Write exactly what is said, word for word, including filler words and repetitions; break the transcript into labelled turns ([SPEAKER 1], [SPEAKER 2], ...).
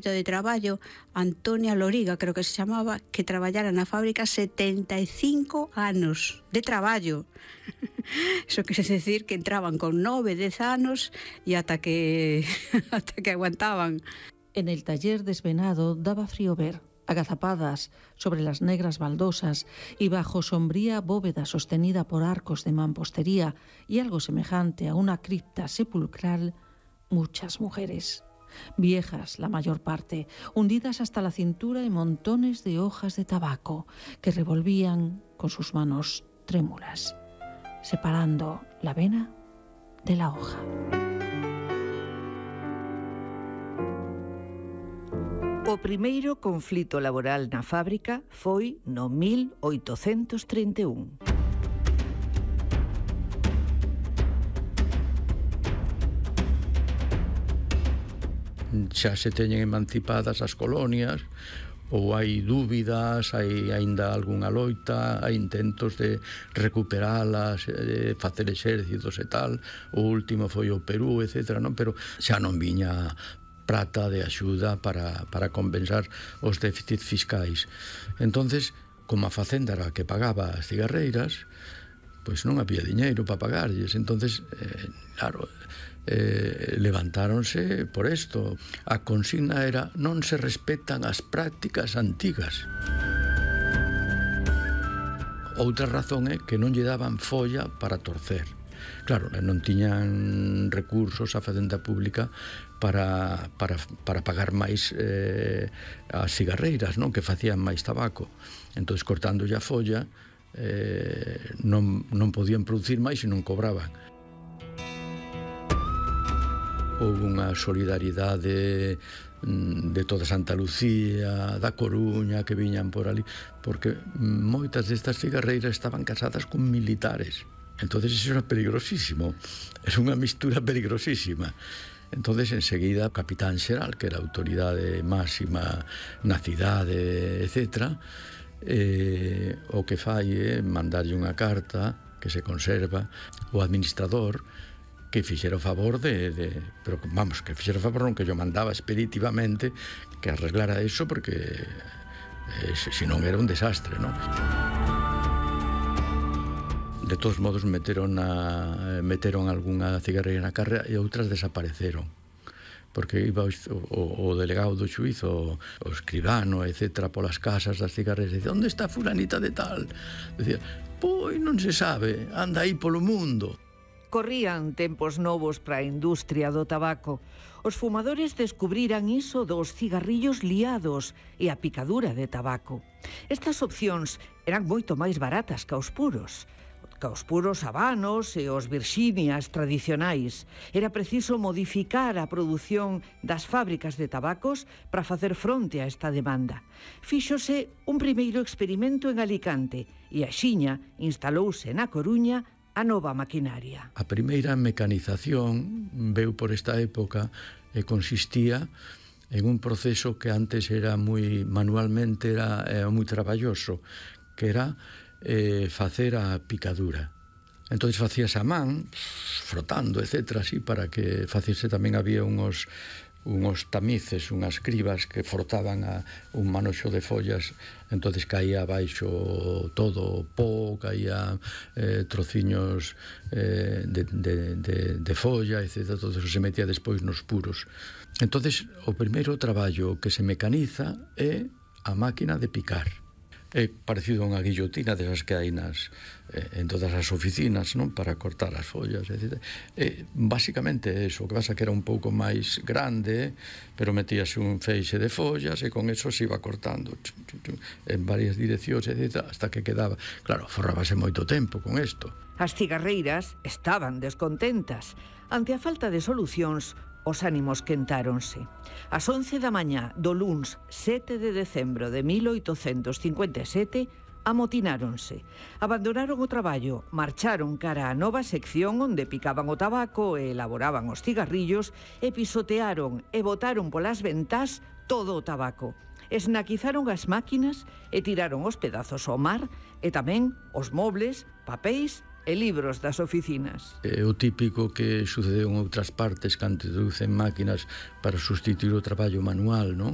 [SPEAKER 1] de traballo, Antonia Loriga, creo que se chamaba, que traballara na fábrica setenta e cinco anos de traballo. Eso quere decir que entraban con nove, dez anos e ata que ata que aguantaban.
[SPEAKER 2] En el taller desvenado daba frío ver, agazapadas sobre las negras baldosas y bajo sombría bóveda sostenida por arcos de mampostería y algo semejante a una cripta sepulcral, muchas mujeres. Viejas, la mayor parte, hundidas hasta la cintura en montones de hojas de tabaco que revolvían con sus manos trémulas, separando la vena de la hoja.
[SPEAKER 3] O primeiro conflito laboral na fábrica foi no mil oitocentos trinta e un.
[SPEAKER 4] Xa se teñen emancipadas as colonias, ou hai dúbidas, hai aínda algunha loita, hai intentos de recuperalas, de facer exércitos e tal. O último foi o Perú, etcétera, non? Pero xa non viña prata de axuda para, para compensar os déficits fiscais. Entonces, como a facenda era a que pagaba as cigarreiras, pois non había diñeiro para pagarlles. Entonces, eh, claro, eh, levantáronse por isto. A consigna era: non se respetan as prácticas antigas. Outra razón é que non lle daban folla para torcer. Claro, non tiñan recursos a facenda pública para, para, para pagar máis eh, as cigarreiras, non? Que facían máis tabaco. Entón, cortándolle a folla, eh, non, non podían producir máis e non cobraban. Houve unha solidaridade de toda Santa Lucía, da Coruña, que viñan por ali, porque moitas destas cigarreiras estaban casadas con militares. Entonces eso era peligrosísimo, es unha mistura peligrosísima. Entonces enseguida o capitán xeral, que era a autoridade máxima na cidade, etcétera, eh, o que fai é mandarlle unha carta que se conserva o administrador, que fixera o favor de, de... Pero vamos, que fixera o favor non, que yo mandaba expeditivamente que arreglara eso, porque eh, se non era un desastre, non? De todos modos meteron a, meteron algunha cigarreira na carrera e outras desapareceron, porque iba o, o, o delegado do xuízo, o escribano, etcétera, polas casas das cigarreiras, e dicía: onde está fulanita de tal? Dicía: pois non se sabe, anda aí polo mundo.
[SPEAKER 3] Corrían tempos novos para a industria do tabaco. Os fumadores descubriran iso dos cigarrillos liados e a picadura de tabaco. Estas opcións eran moito máis baratas que os puros. Que os puros habanos e os virxinias tradicionais. Era preciso modificar a produción das fábricas de tabacos para facer fronte a esta demanda. Fíxose un primeiro experimento en Alicante e axiña instalouse na Coruña a nova maquinaria.
[SPEAKER 4] A primeira mecanización veu por esta época e consistía en un proceso que antes era moi manualmente, era, era moi traballoso, que era eh, facer a picadura. Entón facías a man, frotando, etcétera, así, para que faciese. Tamén había unhos unhos tamices, unhas cribas que frotaban a un manoxo de follas, entonces caía abaixo todo o pó, caía eh, trociños eh, de, de, de, de folla, etcétera. Todo eso se metía despois nos puros. Entonces o primeiro traballo que se mecaniza é a máquina de picar. É parecido a unha guillotina desas que hai nas, eh, en todas as oficinas, non? Para cortar as follas, etcétera. E basicamente eso, o que pasa que era un pouco máis grande, pero metíase un feixe de follas e con eso se iba cortando chum, chum, chum, en varias direccións, etcétera, hasta que quedaba. Claro, forrábase moito tempo con isto.
[SPEAKER 3] As cigarreiras estaban descontentas. Ante a falta de solucións, os ánimos quentáronse. Ás once da mañá do luns sete de decembro de mil oitocentos cincuenta e sete amotináronse. Abandonaron o traballo, marcharon cara á nova sección onde picaban o tabaco e elaboraban os cigarrillos e pisotearon e botaron polas ventás todo o tabaco. Esnaquizaron as máquinas e tiraron os pedazos ao mar e tamén os mobles, papéis e libros das oficinas.
[SPEAKER 4] É o típico que sucedeu en outras partes cando introducen máquinas para sustituir o traballo manual, non?